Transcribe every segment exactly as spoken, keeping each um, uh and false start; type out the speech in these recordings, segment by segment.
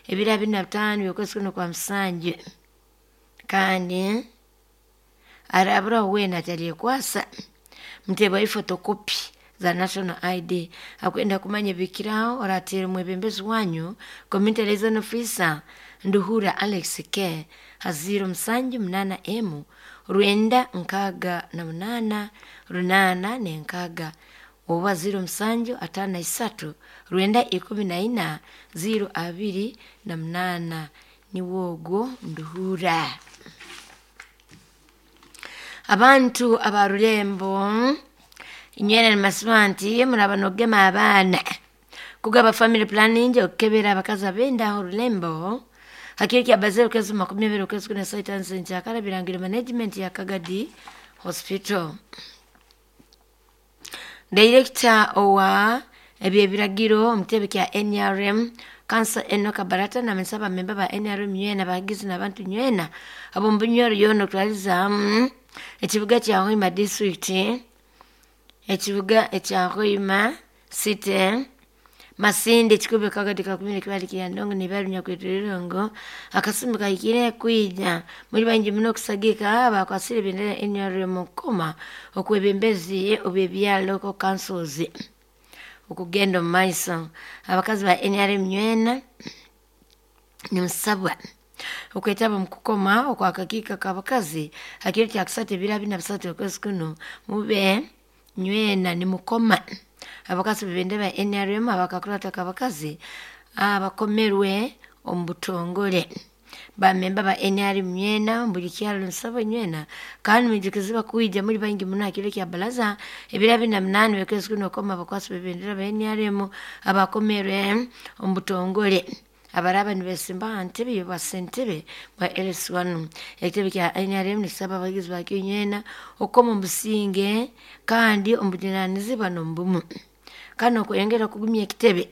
Ebiro abiri na bitaano by'okwezi kuno kwa musanju, kandi araburaho weena atalyekwasa muteebwayo photocopy za national I D. Akwenda kumanya ebikiraho, orateera omwebembezi wanyu, community liaison officer Nduhura Alex K, ha ziro musanju munaana emu rwenda nkaaga na munaana runaana n'enkaaga oba ziro musanju ataano na isatu rwenda ikumi na ina ziro abiri na munaana. Niwe ogwo Nduhura. Abantu aba Rulembo inywena, nimasiba nti muraba nogema abaana, kugaba family planning, okukebera abakazi ab'endaho Rulembo hakiro kya bazere okwezi makumi abiri okwezi kuna saa itaano zenkyakara. Birangiro management ya Kagadi Hospital. Director owa ebyebiragiro omutebe kya N R M, Kansa Enoka Barata, namanyisa abamemba ba N R M nywena, abahagizi n'abantu nywena ab'omu Bunyoro yoona, okutwalizamu ekibuga kya Hoima district, ekibuga ekya Hoima City, Masindi, Kikuube, Kagadi, Kakumire, Kibali, Kiryandongo n'ebyaro binyakwetoreire, akasumi kahikire kwija muli baingi muno okusagika abakwasire ebendera ya N R M okukoma okwebembezi obw'ebyaro, local councils, okugenda omu maiso. Abakazi ba N R M nywena nimusabwa okwetaba omu kukoma okwakakiiko k'abakazi ha kiro kya kusatu, ebiro abiri na bisatu okwezi kuno. Mube nywena nimukoma abakazi b'ebendera ba N R M abakakurata k'abakazi abakomerwe omu butongore. Bamemba ba N R M nywena buli kyaro, nsaba nywena kandi mwijukizibwa kwija muli baingi muno ha kiro kya baraza, ebiro abiri na munaana by'okwezi kuno, okukoma abakwasi b'ebendera ba N R M abakomerwe omu butongore abaraba nibesimba ha ntebe y'obwasentebe bwa L C one. Ekitebe kya N R M nikisaba abahagizi bakyo nywena okukoma omu businge kandi omu bujunanizibwa n'omu bumu, kandi n'okweyongera kugumya ekitebe.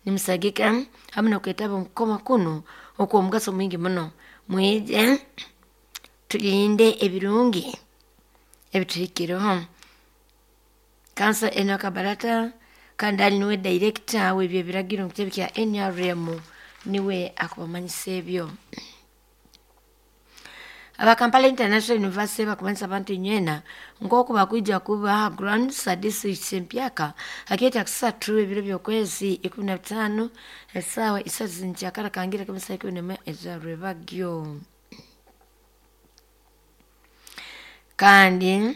Nimusagika hamu n'okwetaba omu kukoma kunu okw'omugaso mwingi muno. Mwije tulinde ebirungi ebituhikireho. Kansa Enoka Barata, kandi ali niwe director w'ebyebiragiro mu kitebe kya N R M, niwe akubamanyisa ebyo. Aba Kampala International University bakumanyisa abantu nywena nk'oku bakwija kuba ha grounds za district empyaka hakiro kya kusatu, ebiro by'okwezi ikumi na bitaano, esaawa isatu zinkyakara kangira kemisaha ikumi n'emwe ezarwebagyo. Kandi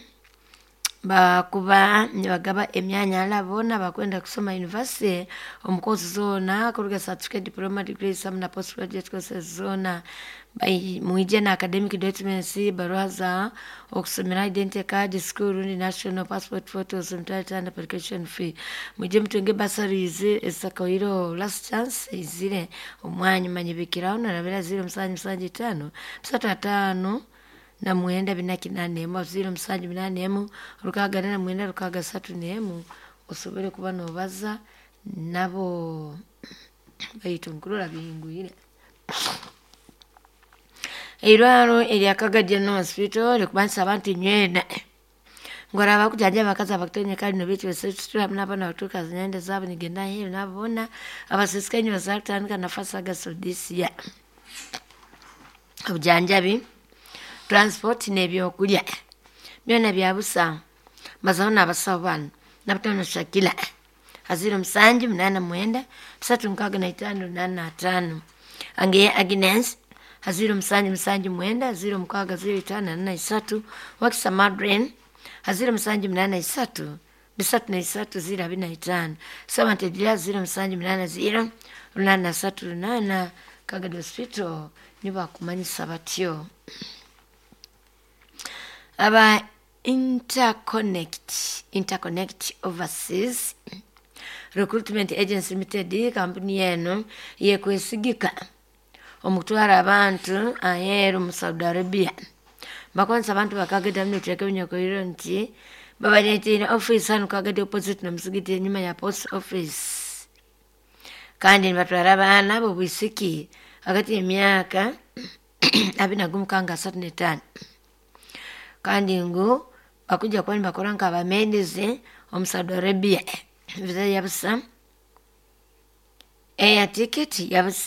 bakuba nibagaba emyanya hali boona abakwenda kusoma university omu course zoona, kuruga certificate, diploma, degrees hamu na postgraduate courses zoona. Mwije na academic documents, baruha za okusomera, identity card, school rundi national passport photos, emitwaro etaano application fee. Mwije mutunge bursaries ezisakawireho. Last chance eizire omwanya. Manyibikiraho narabira ziro musanju musanju itaano bisatu ataano na mwenda bina kinaana emu, ziro musanju munaana emu rukaaga na mwenda rukaaga satu n'emu, osobole kuba noobaza nabo. Baitu nkurora bihingwire. Eirwaro erya Kagadi General Hospital rikubanisa abantu nywena ngu araba kujanjaba abakazi abakutonya kandi nobeekyo hamu n'abaana batuuka enda zaabo nigenda aheeru, nabo boona abasisikaine basobora kutandika na first August of this year. Obujanjabi, transport n'ebyokulya byona bya busa. Bazaho n'abasaho banu: Nabutano Shakila ha ziro musanju munaana mwenda bisatu nkaaga na itaano runaana na ataano, Angeye Agnes ha ziro musanju musanju mwenda ziro mukaaga ziro itaano ana na isatu, Wakisa Madren ha ziro musanju munaana isatu bisatu na isatu ziro abiri na itaano, Sabante Julia ziro musanju munaana ziro runaana na satu runaana. Kagadi Hospital nibo bakumanyisa batyo. Aba Interconnect Interconnect Overseas Recruitment Agency Limited, kampuni eno yekwesigika omu kutwara abantu aheeru mu Saudi Arabia, bakozesa abantu bakagadi hamu n'ebicweka ebinyakwire nti babareetiire office hanu Kagadi, opposite n'omusigiti, enyuma ya post office, kandi nibatwara abaana b'obwisiki hagati y'emyaka abiri na gumu kanga asatu n'etaano, kandi ngu bakujja kuba nibakora nk'abamedizi omu Saudi Arabia. Visa ya busa, air ticket ya busa.